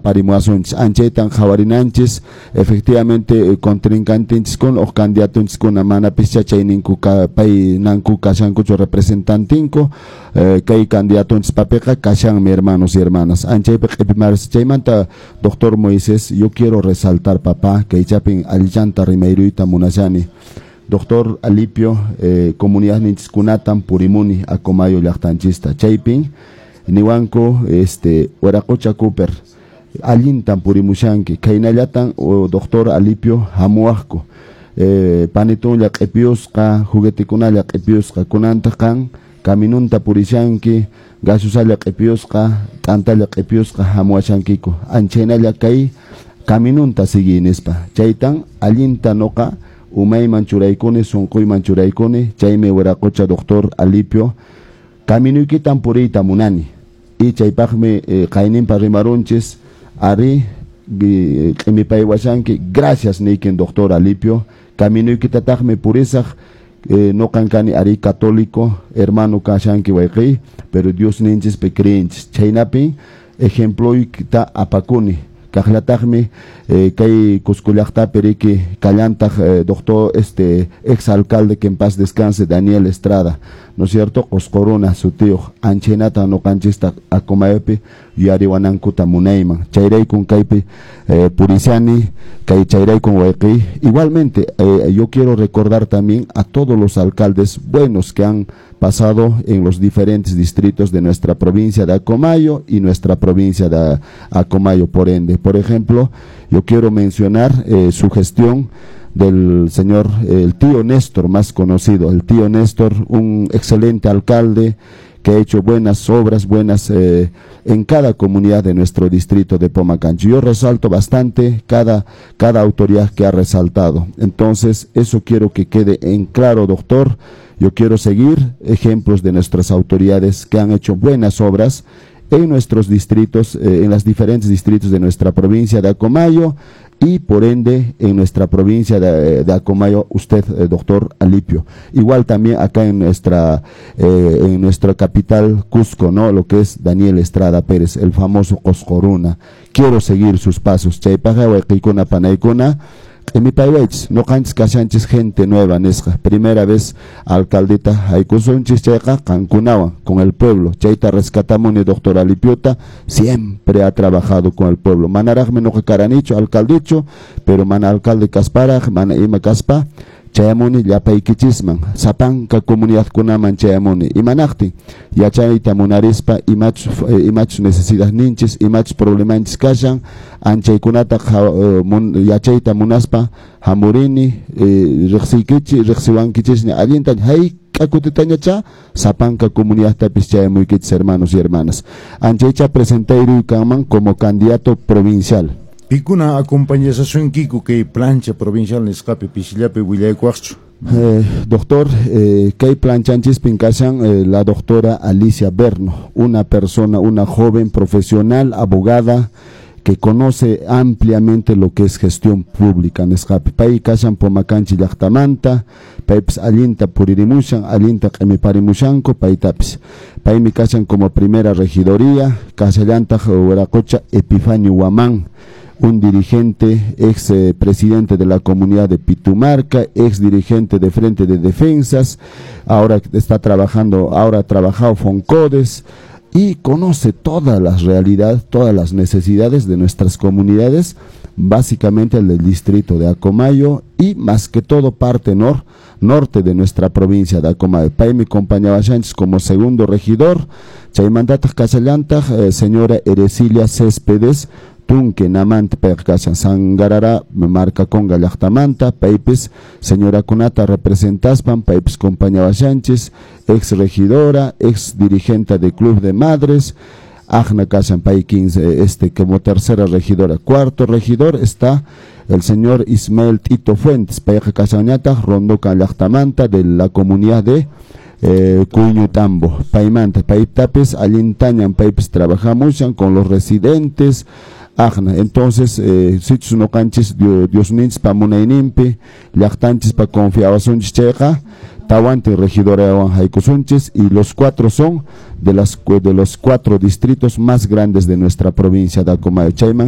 Yanaparimuwasunchis, anchaytan qhawarinanchis. Efectivamente, contrincantinchiskuna o candidatunchiskuna manapischa chayninku paynanku kashankuchu representantinku, kay candidatunchis papiqa kashanmi, hermanos y hermanas. Anchaypi q'ipimaris. Chaymanta, doctor Moisés, yo quiero resaltar, papá, kay chapin allillanta rimayruyta munashani. Doctor Alipio, comunidad ninchiskunatan purimuni Acomayo llaqtanchista. Chaypin niwanku, "Wiraqucha Cooper, allintan purimushanki, khaynallatan, doctor Alipio, hamuwaqku, panitunlla q'ipiyusqa, juguetekunalla q'ipiyusqa, kunantaq qan caminunta purishanki, gaseosalla q'ipiyusqa, t'antalla q'ipiyusqa hamuwashankiku, anchaynalla kay caminunta sigui" nispa. Chaytan allinta noqa umayman churaykuni, sunquyman churaykuni. Chaymi, wiraqucha doctor Alipio, caminuykitan puriyta munani y chaypaqmi qayninpa rimarunchis, ari, q'imipaywashanki, gracias niykin, doctor Alipio, caminuykitataqmi purisaq. Noqan kani ari católico, hermano kashanki wayqiy, pero Dios ninchispi creenchis, chhaynapin ejemploykita apakuni. Kaqllataqmi kay Cusco llaqtapi riki kallantaq doctor, ex alcalde, que en paz descanse, Daniel Estrada, ¿no es cierto?, Qosqoruna sutiyuq. Anchaynata noqanchista Acomayopi yuyariwanankuta munayman. Chayraykun kaypi purishani kay chayraykun, wayqiy. Igualmente, yo quiero recordar también a todos los alcaldes buenos que han pasado en los diferentes distritos de nuestra provincia de Acomayo y nuestra provincia de Acomayo, por ende. Por ejemplo, yo quiero mencionar su gestión del señor, el tío Néstor, más conocido, el tío Néstor, un excelente alcalde que ha hecho buenas obras, buenas en cada comunidad de nuestro distrito de Pomacanchi. Yo resalto bastante cada autoridad que ha resaltado. Entonces, eso quiero que quede en claro, doctor. Yo quiero seguir ejemplos de nuestras autoridades que han hecho buenas obras en nuestros distritos, en las diferentes distritos de nuestra provincia de Acomayo y por ende en nuestra provincia de Acomayo, usted, doctor Alipio. Igual también acá en nuestra capital Cusco, ¿no? Lo que es Daniel Estrada Pérez, el famoso Qosqoruna. Quiero seguir sus pasos. Chaypaqqa, wayqiykuna, panaykuna, q'imipaywaychis, noqanchis kashanchis gente nueva nisqa, primera vez alcaldita haykusunchis chayqa qankunawan, con el pueblo. Chayta rescatamuni doctor Alipiota, siempre ha trabajado con el pueblo. Manaraqmi noqa karanichu alcaldichu, pero mana alcalde kasparaq, mana ima kaspa, chayamuni llapaykichisman, sapanka comunidadkunaman chayamuni. Imanaqtin? Yachayta munarispa imachus necesidad ninchis, imachus problemanchis kashan, anchaykunata yachayta munaspa hamurini, riqsiykichi, riqsiwankichisña allinta, hayk'a kutitañacha sapanka comunidadtapis chayamuykichis, hermanos y hermanas. Anchaycha presentayruy kanman como candidato provincial. Pikuna acompañasasunkiku kay plancha provincial nisqapi, pisillapi willaykuwaqchu? Doctor, kay planchanchispin kashan la doctora Alicia Berno, una persona, una joven profesional, abogada, que conoce ampliamente lo que es gestión pública nisqapi. Pay kashan Pomacanchi llaqtamanta, paypis allinta puririmushan, allinta q'imiparimushanku paytapis. Paymi kashan como primera regidoría, kashallantaq Huiracocha Epifanio Huamán, un dirigente, ex presidente de la comunidad de Pitumarca, ex dirigente de Frente de Defensas, ahora está trabajando, ahora ha trabajado Foncodes y conoce todas las realidades, todas las necesidades de nuestras comunidades, básicamente el del distrito de Acomayo y más que todo parte norte de nuestra provincia de Acomayo. Paymi acompañaba Sánchez como segundo regidor, chaymantataq kashallantaq señora Erecilia Céspedes Tunque namanta, payqa kashan Sangarara Marcaconga llaqtamanta, paypis señora kunata representaspan, paypis compañawashanchis, ex regidora, ex dirigente de Club de Madres, aqna kashan pay 15, como tercera regidora. Cuarto regidor está el señor Ismael Tito Fuentes, payqa kashanñataq Rondoca llaqtamanta de la comunidad de Cuñutambo. Paymanta, paytapis allintañan paypis trabajamushan con los residentes, aqna. Entonces, sichus noqanchis Diosninchis munayninpi, llaqtanchis pa confiawasunchis chayqa, tawantin regidorawan haykusunchis y los cuatro son de los cuatro distritos más grandes de nuestra provincia de Acomayo. Chayman